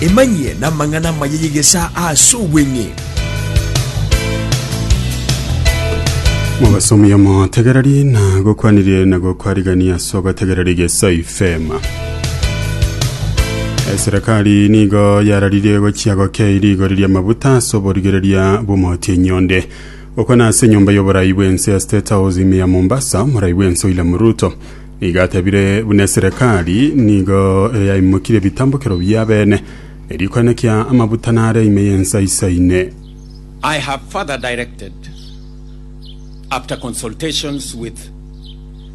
Emanyie namang'ana amaya y'egesaa ase obweng'e. Mobasomi omotegereri na gokwanirie na gokwarigania ase ogotegereri Gesa FM. Eserekari nigo yararirie gochia gokei rigori ri'amabuta ase oborigereria bw'omotienyi onde. Gokwana ase enyomba y'oborai bw'ense ya State House ime ya Mombasa, omorai bw'ense William Ruto nigo atebire buna eserekari nigo yaimokirie ebitambokero bi'abene erio koenekia amabuta nare ime y'ense aisaine. I have further directed, after consultations with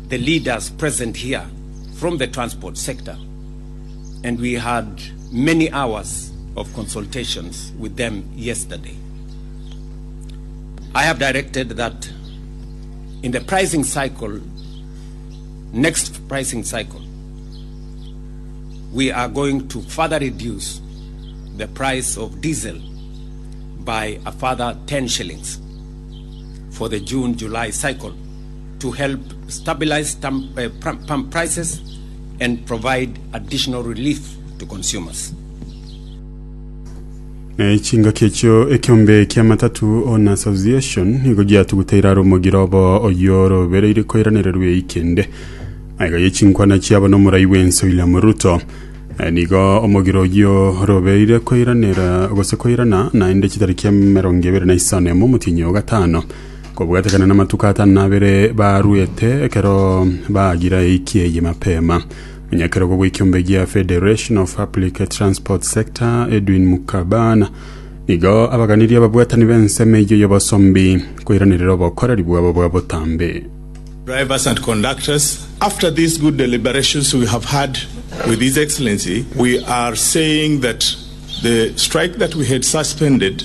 the leaders present here from the transport sector, and we had many hours of consultations with them yesterday. I have directed that in the pricing cycle, next pricing cycle, we are going to further reduce the price of diesel by a further 10 shillings for the June-July cycle to help stabilize pump prices and provide additional relief to consumers. Ne chingaki echio ekeombe kia Matatu Owners Association nigo giatuguteire are omogiro obo oyio orobereire koiranererwa eiki ende. Magega ye chinkwana chiabo nomorai bw'ense William Ruto. Nigo omogiro oyio orobereire koiranera gose koirana naende chitariki emerongo ebere na isano emo omotienyi o gatano kobwatekana namatuko atano na abere baruete ekero baagira eiki eye mapema. Omonyakerogo bw'ekiombe gia Federation of Public Transport Sector Edwin Mukabana nigo abaganirie ababwatani b'ensemo eyio y'obosombi koiranerera obokoreri bwabo bwa botambe. Drivers and conductors, after these good deliberations we have had with His Excellency, we are saying that the strike that we had suspended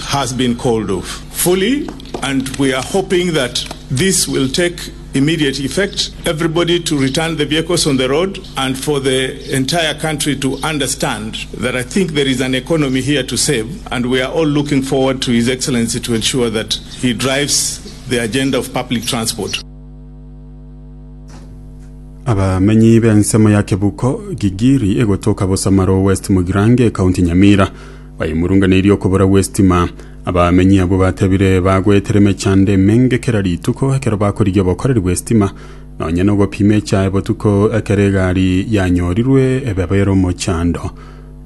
has been called off fully and we are hoping that this will take immediate effect, everybody to return the vehicles on the road and for the entire country to understand that I think there is an economy here to save and we are all looking forward to His Excellency to ensure that he drives the agenda of public transport. Abamenyi b'ensemo ya Kebuko, Gigiri egotoka Bosamaro West Mugirango ekaunti Nyamira baimurunganeirie okobora gw'estima. Abamenyi abwo batebire bagoetera emechando emenge kera rituko ekero bakorigia obokoreri bw'estima nonya nogopima echae botuko ekero egari yanyorirwe ebabere omochando.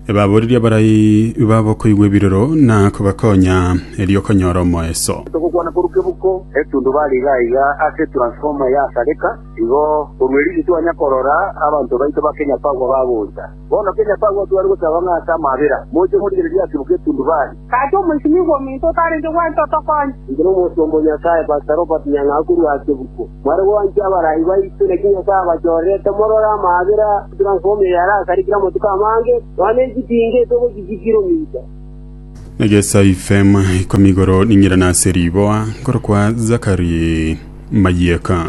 Ebaboririe abarai babo koigwa ebirero na kobakonya erio konyora omoeso. Togokwana korwa kebuko, etundubari iga iga ase etransformer yasareka, igo korwa erio titwanya korora abanto baito ba Kenya Power bagocha. Bono Kenya Power tware gosaba ng'a ase amabera, moche morigererie ase kebuko etundubari. Gaki omoisinigwa ominto otarenge gwancha otokonye. Inche nomosomba o Nyasae, Pastor Robert Nyang'au korwa Kebuko. Mware gwancha abarai baito, naki Nyasae abachorerete morore amaabera, transformer eye arasarikire amatuko amange, nonya ne chitinga etogochichia kilomita. Egesa FM ikomi igoro ning'irane ase riboa nkorokwa Zakari Mayieka.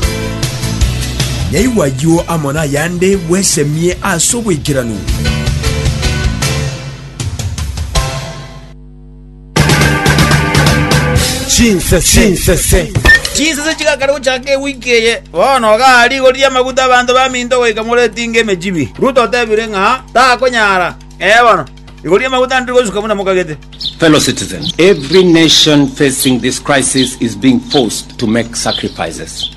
Nyaigwa ayio amo nayande bwesemie ase oboikeranu. Chinsese. Chinsese chigakare gochaka ewiki eye. Bono igaa rigori ri'amaguta abanto baminto goika moretinge emechibi. Ruto otebire ng'a takonyara. Ee bono, igoro ri'amaguta ndiri gosuka buna mokagete. Fellow citizens, every nation facing this crisis is being forced to make sacrifices.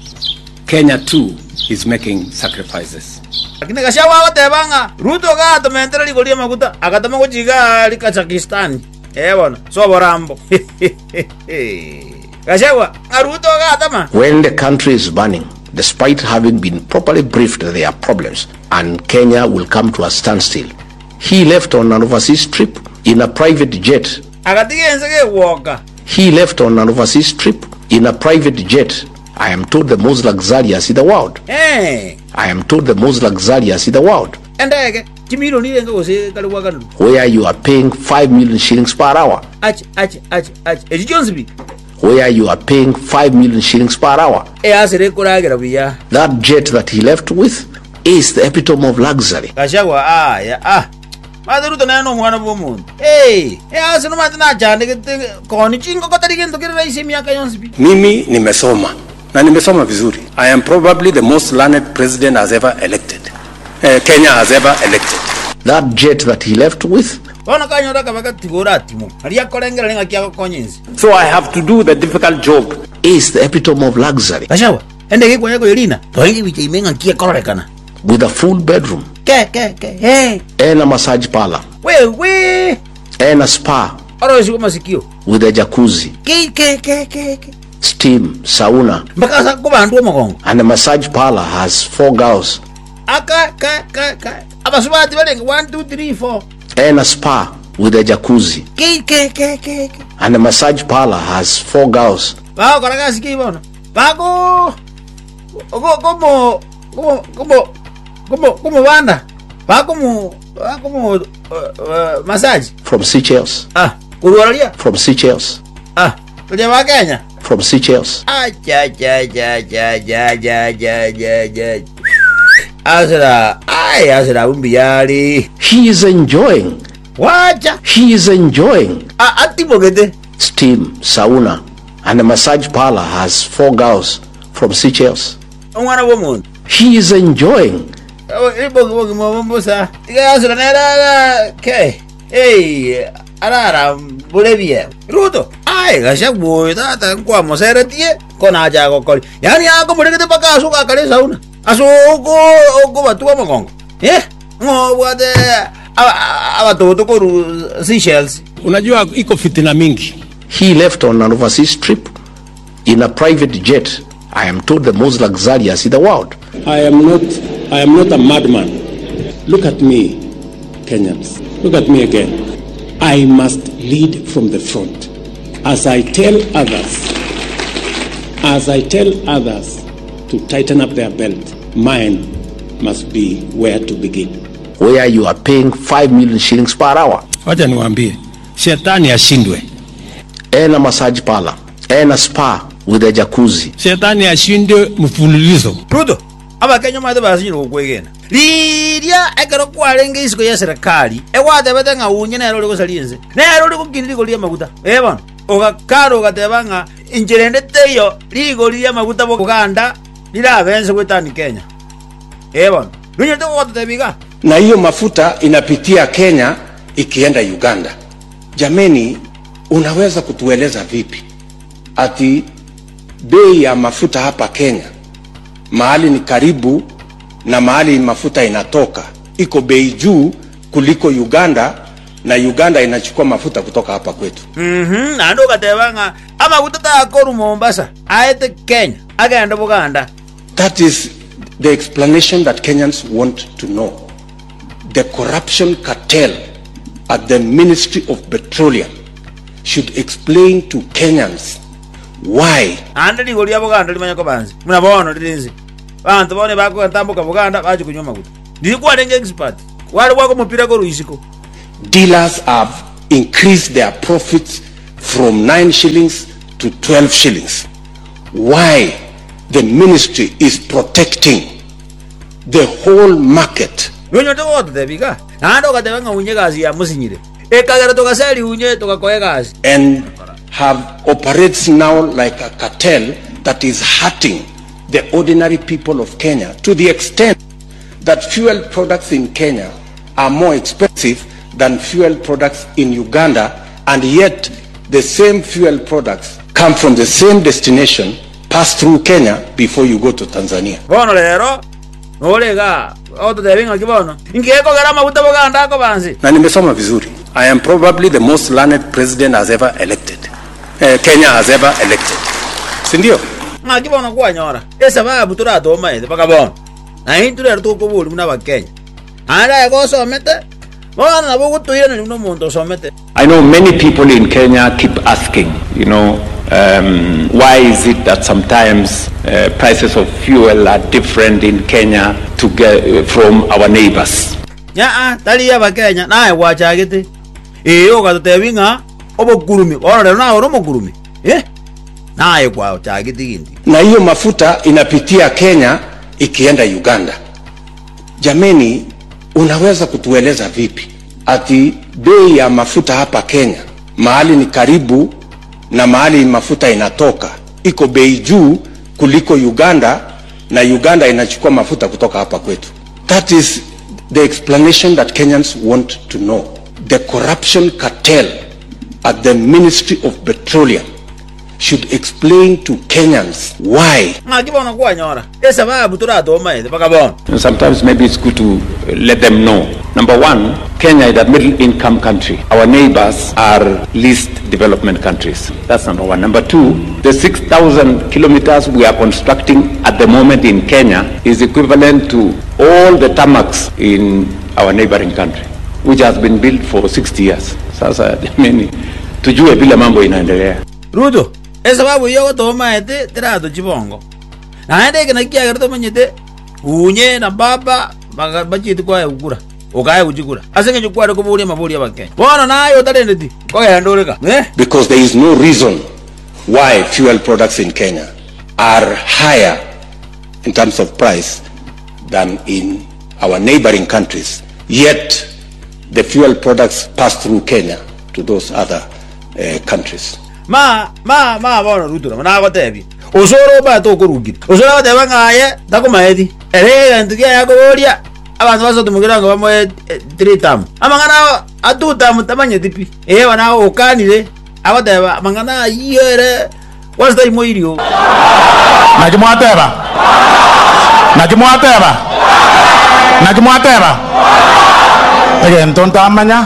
Kenya too is making sacrifices. Lakini Gachagua agoteba ng'a Ruto gatomentera rigori ri'amaguta agatoma gochia igaa aria Kazakhstan. Ee bono, ase oborambo. Gachagua, ng'a Ruto gatoma. When the country is burning, despite having been properly briefed that there are problems and Kenya will come to a standstill, he left on an overseas trip in a private jet. Agatiga ense gegwoka. He left on an overseas trip in a private jet. I am told the most luxurious in the world. Eh. I am told the most luxurious in the world. Endege, chimilioni irenge gose kare gwakanirwe. Where you are paying 5 million shillings per hour. Ache, ache, ache, ache. Echi chionsi pi. Where you are paying 5 million shillings per hour. Easere ekoragera buya. That jet that he left with is the epitome of luxury. Gachagua, Aya, ah. Omanyete Ruto nere nomwana bw'omonto. Ee, ease nomanyete nachandegete koni chingoko tari gento kere rahisi emiaka yonsi pi. Mimi nimesoma na nimesoma vizuri. I am probably the most learned president has ever elected, Kenya has ever elected. That jet that he left with. Bono kanyora akabaka tiga oratimoke, aria akorengereria ng'aki agokonya ense. So I have to do the difficult job. Is the epitome of luxury. Gachagua, endege ekwanya koyerina, torenge ebicha ime ng'aki ekororekana. With a full bedroom. Ke ke ke hey. And a massage parlour. We we. And a spa. Oroisigwe masikio. With a jacuzzi. Ke ke ke ke ke. Steam, sauna. Mpaka ase kobandwa omogongo. And the massage parlour has four girls. Aka ka ka ka. Abasubati barenge 1 2 3 4. And a spa with a jacuzzi. Ke ke ke ke ke. And the massage parlour has four girls. Bagokora gasi ki bono? Bago go gomo gomo gomo gomo gomobanda. Bakomo bakomo massage. From Seychelles. Ah, korwa roria. From Seychelles. Ah, toria ba Kenya. From Seychelles. Acha cha cha cha cha cha cha cha cha. Asira, ai asira umbiyari. He is enjoying. Wacha. He is enjoying. Ah, atimogete. Steam, sauna, and the massage parlor has four girls from Seychelles. Omwana bw'omonto. He is enjoying. Ribogi bogima obo mbosa. Tiga asira nere ara ke. Hey, ararambore ebiegwa. Ruto, aye Gachagua oyo tata nkwamoseretie, ko nache agokoria. Yaani akomoregete mpaka ase ogakara esauna, ase oko okobatua omogongo. Eh, ng'o obwate abatoto korwa Seychelles? Unajua iko fitina mingi. He left on an overseas trip in a private jet, I am told the most luxurious in the world. I am not, I am not a madman. Look at me, Kenyans. Look at me again. I must lead from the front. As I tell others, as I tell others to tighten up their belt, mine must be where to begin. Where you are paying 5 million shillings per hour. Wacha niwaambie, shetani ashindwe. And a massage parlor and a spa with a jacuzzi. Shetani ashindwe mfululizo. Ruto, Abakenya omanyete basinyire gokwegena. Riria ekero kwarenge isiko y'eserekari, egwatebete ng'a unye nere ore gosaria ense, nere ore gokinia rigori ri'amaguta. Ee bono, ogakara ogateba ng'a inchera ende teiyo rigori ri'amaguta Boganda rirabe ense goetania Kenya. Ee bono, nonyarete gototebia iga? Na hiyo mafuta inapitia Kenya ikienda Uganda. Jameni, unaweza kutueleza vipi ati bei ya mafuta hapa Kenya mahali ni karibu na mahali mafuta inatoka iko bei juu kuliko Uganda na Uganda inachukua mafuta kutoka hapa kwetu. Mhm, naende ogateba ng'a amaguta takorwa Mombasa aete Kenya agende Boganda. That is the explanation that Kenyans want to know. The corruption cartel at the Ministry of Petroleum should explain to Kenyans why. Naende rigori ria Boganda rimanye koba nse, buna bono rire nse. Abanto bono ebakogentamboka Boganda bachia konywa amaguta. Riria kwarenge expert, kware gwaka omopira korwa isiko. Dealers have increased their profits from 9 shillings to 12 shillings. Why the ministry is protecting the whole market. Nonyorete gogototebia iga, naende ogateba ng'a unye egasi yamosinyire, ekagera togaseria unye togakoa egasi. And have operates now like a cartel that is hurting the ordinary people of Kenya to the extent that fuel products in Kenya are more expensive than fuel products in Uganda and yet the same fuel products come from the same destination, pass through Kenya before you go to Tanzania. Bono rero nore igaa ogototebia ng'aki bono? Inki gekogera amaguta boganda akoba nse? Na nimesoma vizuri. I am probably the most learned president has ever elected. Eh, Kenya has ever elected. Si ndio? Ng'aki bono kwanyora esababu toratomaete mpaka bono? Na intwe rero tokoboria buna Abakenya. Naende aye gosomete, bono nabo ogotoiraneria buna omonto osomete. I know many people in Kenya keep asking, you know, um, why is it that sometimes uh, prices of fuel are different in Kenya to get, uh, from our neighbors? Yaa, tari Abakenya, naye gwachagete. Ee, ogatotebia ng'a obokurumi, bono rero naye ore omokurumi, eh? Naye gwachagete gento. Na hiyo mafuta inapitia Kenya ikienda Uganda. Jameni, unaweza kutueleza vipi ati bei ya mafuta hapa Kenya mahali ni karibu na mahali mafuta inatoka iko bei juu kuliko Uganda na Uganda inachukua mafuta kutoka hapa kwetu? That is The explanation that Kenyans want to know, the corruption cartel at the Ministry of Petroleum should explain to Kenyans why. Ng'aki bono kwanyora esababu toratomaete mpaka bono? Sometimes maybe it's good to let them know. Number one, Kenya is a middle income country. Our neighbors are least development countries. That's number one. Number two, the 6,000 kilometers we are constructing at the moment in Kenya is equivalent to all the tarmacs in our neighboring country, which has been built for 60 years. Sasa jameni, tujue vile mambo inaendelea. Ruto, esababu eyio ogotomaete teratochia bongo. Naende eke nakio kiagera tomanyete Unye na baba bachiete koa kura, okaegwa chikura, ase engencho kware koboria amaborio 'Abakenya. Bono naye otarendeti, nkogenda ore ka? Eh? Because there is no reason why fuel products in Kenya are higher in terms of price than in our neighboring countries, yet the fuel products pass through Kenya to those other countries. Ma, ma, ma bono Ruto nabo nagotebia, Osoro obaete okorungire. Osoro agoteba ng'a aye takomaeti. Ere egento kiaye akoboria, abanto ba Sodom kerango bamoe three term. Amang'ana ao a two term tamanyeti pi. Ee bono okanire, agoteba amang'ana ayio ere kwanza taimoiri oo. Naki mwateba? Naki mwateba? Naki mwateba? Egento ntamanya,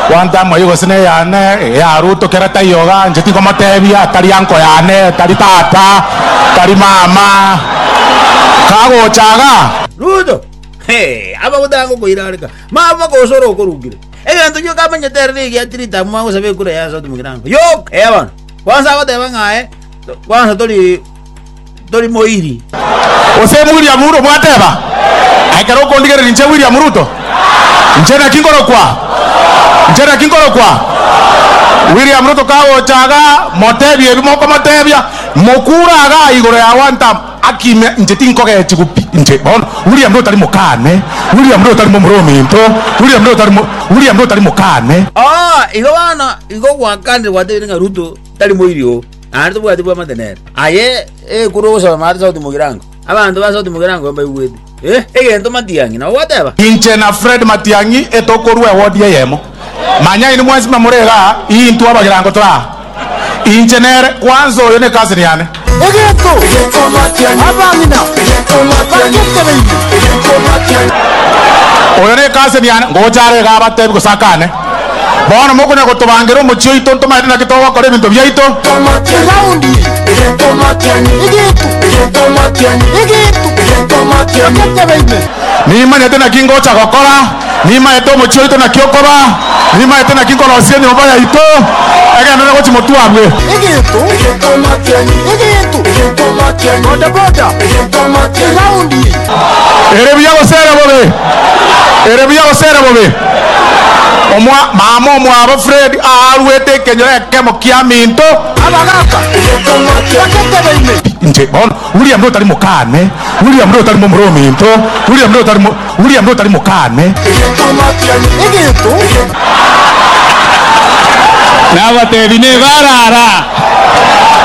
gwantamwa eyio gose neyane, eya Ruto kera taiyo igaa, inche tinkomotebia, tari anko yane, tari tata, tari mama, kagocha igaa. Ruto, Hee, amaguta agokoirareka, maba gose ore okorungire. Egento gioka amanyete ere negia tirita mwagosaba ekura ya Sauti Mugirango. Yoka! Ee bono, kwansa agoteba ng'a aye, kwansa tori tori moiri. Gose William Ruto mwateba? Aye ekero okondigereria inche William Ruto, inche naki nkorokwa? Inche naki nkorokwa? William Ruto kagocha igaa, motebie ebi mokomotebia, mokure igaa igoro ya one term. Akime inche tinkogechigu pi inche bono William Ruto tari mokane William Ruto tari momura ominto William Ruto tari William Ruto tari mokane. Oo, igo bono igo gwakanire gwatebire ng'a Ruto tari moiri oo, naende tobwati bwamate nere. Aye ekuru ogosaba amate Sauti Mugirango, abanto ba Sauti Mugirango mbaigwete. Eh, egento Matiang'i nabo gwateba? Inche na Fred Matiang'i etokorua ewodi eyemo. Manya inwe mwensi buna more igaa, intwe abagirango tore aa. Inche nere, kwanza oyo ne cousin yane. Egento abang'ina bagetebeire. Oyo ne cousin yane, ngocha are igaa abatebi gose akane. Bono mokonya gotobangera omochie oito ntomaete naki togokora ebinto biaito. Eraundi eye, egento egento bagetebeine. Nimanyete naki ngocha gokora. Nimaete omochie oito naki okoba, nimaete naki nkorosia enyomba yaito, egenderere gochia motwe abwe. Egento, egento, boda boda, eraundi eye. Ere buya gose ere bobe? Ere buya gose ere bobe? Omwa, mama omwabo Fred aaruete ekenyoro ekemo kiaminto. Abagaka, bagetebeine. Inche bono, William Ruto tari mokane, William Ruto tari momura ominto, William Ruto tari mo, William Ruto tari mokane. Egento. Nabatebi nebarara.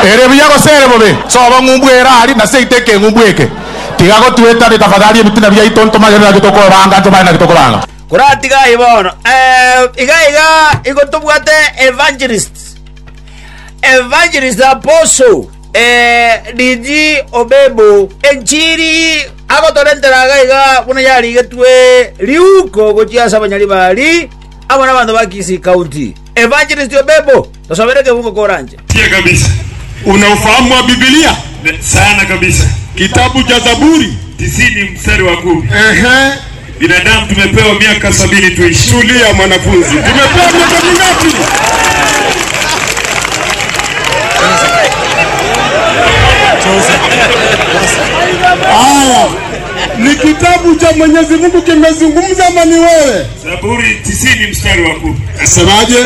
Ere buya gose ere bobe? Sobo ng'umbu ere aria na seito ekeng'umbu eke. Tiga gotwetania tafadhali ebitina biaito ntomanye naki tokobanga ntomanye naki tokobanga. Koratiga aye bono, eh, iga iga igo tobwate evangelist Evangelist Apostle DG Obebo enchiri agotorentera iga iga buna yarigetwe riuko gochia ase abanyaribari amo nabanto ba Kisii County. Evangelist Obebo tosobere ekebungo koranche. Sikia kabisa. Una ufahamu wa Biblia? Sana kabisa. Kitabu cha Zaburi 90 mstari wa 10. Ehe. Binadamu tumepewa miaka 70 tuishi. Tulia mwanafunzi. Tumepewa miaka mingapi? Haya, ni kitabu cha Mwenyezi Mungu kimezungumza ama ni wewe? Zaburi 90 mstari wa 10. Nasemaje?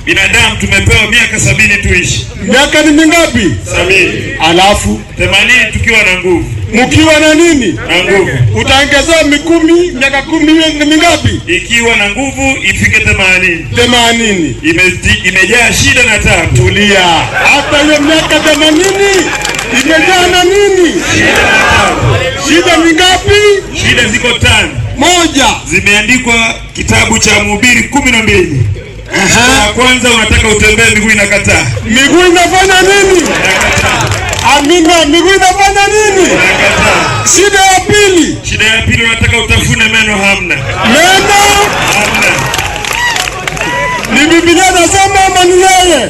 Binadamu tumepewa miaka 70 tuishi. Miaka ni mingapi? 70. Alafu 80 tukiwa na nguvu. Mkiwa na nini? Na nguvu. Utaongezewa mikumi, miaka 10 iwe ni mingapi? Ikiwa na nguvu ifike 80. 80. Imejaa shida na taabu. Tulia. Hata hiyo miaka 80 imejaa na nini? Shida na taabu. Shida ni ngapi? Shida ziko 5. Moja. Zimeandikwa kitabu cha Mhubiri 12. Ya kwanza unataka utembee, miguu inakataa. Miguu inafanya nini? Amina, miguu inafanya nini? Shida ya pili. Shida ya pili unataka utafune meno, hamna. Meno Hamna. ni Biblia nasema ama ni yeye?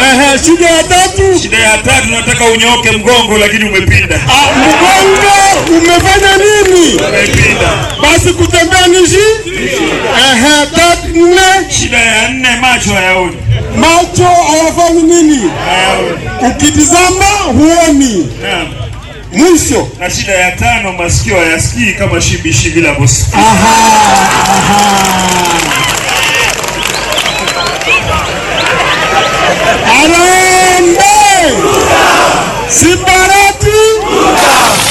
Ehe, shida ya tatu. Shida ya tatu unataka unyooke mgongo, lakini umepinda. Ah, mgongo umefanya nini? Umepinda. Basi kutembea ni shi? Ehe, tatu nne. Shida ya nne macho hayaoni. Macho hayafanyi nini? Ukitizama huoni. Naam. Mwisho. Na shida ya tano masikio hayasikii kama shibishi vile anavyosikia. Aha, aha. Harambee! Simbarati!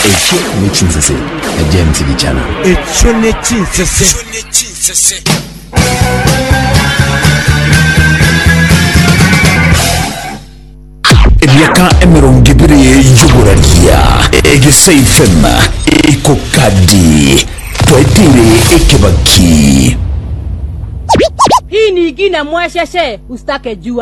Ekyo n'ekinsese na James Gichana. Ekyo n'ekinsese. Emiaka 20 y'oboraria Egesa FM ekokadi twetire ekebaki. Hii ni ingine mwesheshe, usitake jua.